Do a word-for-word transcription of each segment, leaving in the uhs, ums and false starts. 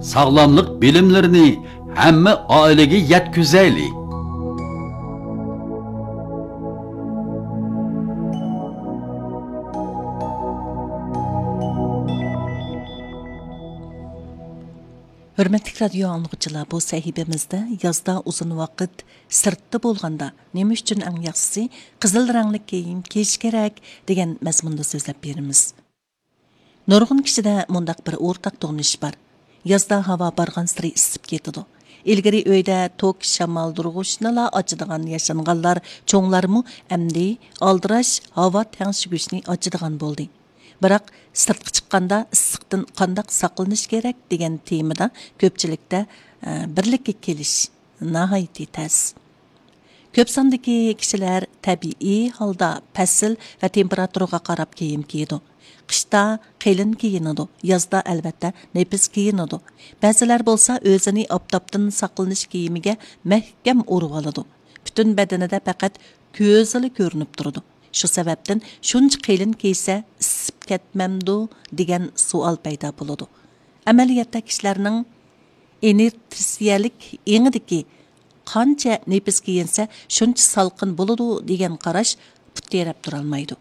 ساغلاملىق بىلىملىرىنى ھەممە ئائىلىگە يەتكۈزەيلى. ھۆرمەتلىك رادىيو ئاڭلىغۇچىلار، بۇ سەھىپىمىزدە يازدا ئۇزۇن ۋاقىت سىرتتا بولغاندا نېمە ئۈچۈن ئەڭ ياخشىسى قىزىل رەڭلىك كىيىم كىيىش كېرەك دېگەن مەزمۇندا سۆزلەپ بېرىمىز. نۇرغۇن كىشىدە مۇنداق بىر ئورتاق تونۇش بار. يازدا ھاۋا بارغانسېرى ئىسسىپ كېتىدۇ. ئىلگىرى ئۆيدە توك شامالدۇرغۇچنىلا ئاچىدىغان ياشانغانلار، چوڭلارمۇ ئەمدى ئالدىراش ھاۋا تەڭشىگۈچنى ئاچىدىغان بولدى. بىراق، سىرتقا چىققاندا ئىسسىقتىن قانداق ساقلىنىش كېرەك دېگەن تېمىدا كۆپچىلىكتە، ئە، بىرلىككە كېلىش ناھايىتى تەس. كۆپ ساندىكى كىشىلەر تەبىئىي ھالدا پەسىل ۋە تېمپېراتۇرىغا قاراپ كىيىم كىيىدۇ. قىشتا قېلىن كىيىنىدۇ، يازدا ئەلۋەتتە نېپىز كىيىنىدۇ. بەزىلەر بولسا ئۆزىنى ئاپتاپتىن ساقلىنىش كىيىمىگە مەھكەم ئورىۋالىدۇ. پۈتۈن بەدىنىدە پەقەت كۆزىلا كۆرۈنۈپ تۇرىدۇ. شۇ سەۋەبتىن شۇنچە قېلىن كىيسە ئىسسىپ كەتمەمدۇ دېگەن سوئال پەيدا بولىدۇ. ئەمەلىيەتتە كىشىلەرنىڭ ئىنېرتسىيەلىك ئېڭىدىكى قانچە نېپىز كىيىنسە شۇنچە سالقىن بولىدۇ دېگەن قاراش پۇت تىرەپ تۇرالمايدۇ.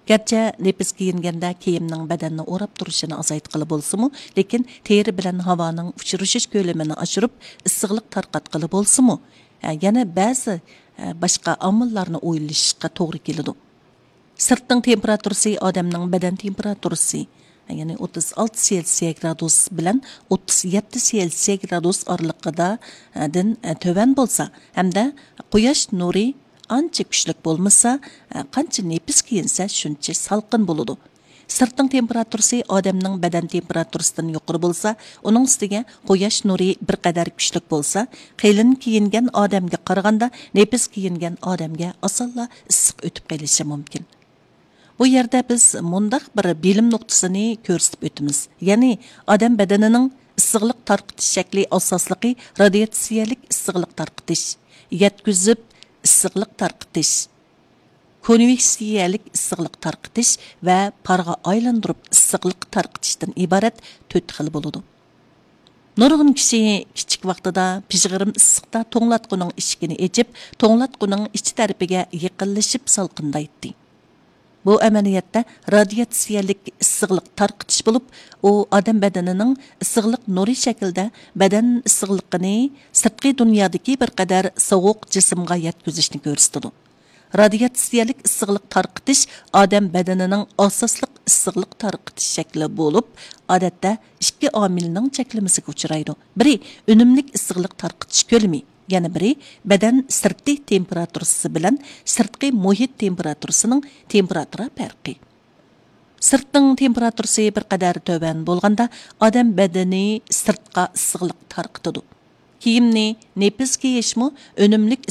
گەرچە نېپىز كىيىنگەندە كىيىمنىڭ بەدەننى ئوراپ تۇرۇشىنى ئازايتقىلى بولسىمۇ، لېكىن تېرە بىلەن ھاۋانىڭ ئۇچرىشىش كۆلىمىنى ئاشۇرۇپ، ئىسسىقلىق تارقاتقىلى بولسىمۇ، ھە، يەنە بەزى، ھە، باشقا ئامىللارنى ئويلىشىشقا توغرا كېلىدۇ. سىرتنىڭ تېمپېراتۇرىسى ئادەمنىڭ بەدەن تېمپېراتۇرىسى، يەنى ئوتتۇز ئالتە سېلسىيە گرادۇس بىلەن ئوتتۇز يەتتە سېلسىيە گرادۇس ئارىلىقىدا، دىن، تۆۋەن بولسا ھەمدە قۇياش نۇرى ئانچە كۈچلۈك بولمىسا، قانچە نېپىز كىيىنسە، شۇنچە سالقىن بولىدۇ. سىرتنىڭ تېمپېراتۇرىسى ئادەمنىڭ بەدەن تېمپېراتۇرىسىدىن يۇقىرى بولسا، ئۇنىڭ ئۈستىگە قۇياش نۇرى بىر قەدەر كۈچلۈك بولسا، قېلىن كىيىنگەن ئادەمگە قارىغاندا نېپىز كىيىنگەن ئادەمگە ئاسانلا ئىسسىق ئۆتۈپ قېلىشى مۇمكىن. بۇ يەردە بىز مۇنداق بىر بىلىم نۇقتىسىنى كۆرسىتىپ ئۆتىمىز، يەنى ئادەم بەدىنىنىڭ ئىسسىقلىق تارقىتىش شەكلى ئاساسلىقى رادىياتسىيەلىك ئىسسىقلىق تارقىتىش، يەتكۈزۈپ ئىسسىقلىق تارقىتىش، كونۋېكسىيەلىك ئىسسىقلىق تارقىتىش ۋە پارغا ئايلاندۇرۇپ ئىسسىقلىق تارقىتىشتىن ئىبارەت تۆت خىل بولىدۇ. نۇرغۇن كىشى كىچىك ۋاقتىدا پىژغىرىم ئىسسىقتا توڭلاتقۇنىڭ ئىشىكىنى ئېچىپ، توڭلاتقۇنىڭ ئىچ تەرىپىگە يېقىنلىشىپ سالقىندايتتى. بۇ ئەمەلىيەتتە رادىياتسىيەلىك ئىسسىقلىق تارقىتىش بولۇپ، ئۇ ئادەم بەدىنىنىڭ ئىسسىقلىق نۇرى شەكلىدە بەدەن ئىسسىقلىقىنى سىرتقى دۇنيادىكى بىر قەدەر سوغۇق جىسىمغا يەتكۈزۈشنى كۆرسىتىدۇ. رادىياتسىيەلىك ئىسسىقلىق تارقىتىش ئادەم بەدىنىنىڭ ئاساسلىق ئىسسىقلىق تارقىتىش شەكلى بولۇپ، ئادەتتە ئىككى ئامىلنىڭ چەكلىمىسىگە ئۇچرايدۇ. بىرى ئۈنۈملۈك ئىسسىقلىق تارقىتىش كۆلىمى، يەنە بىرى بەدەن سىرتى تېمپېراتۇرىسى بىلەن سىرتقى مۇھىت تېمپېراتۇرىسىنىڭ تېمپېراتۇرا پەرقى. سىرتنىڭ تېمپېراتۇرىسى بىر قەدەر تۆۋەن بولغاندا، ئادەم بەدىنى سىرتقا ئىسسىقلىق تارقىتىدۇ. كىيىمنى نېپىز كىيىشمۇ ئۈنۈملۈك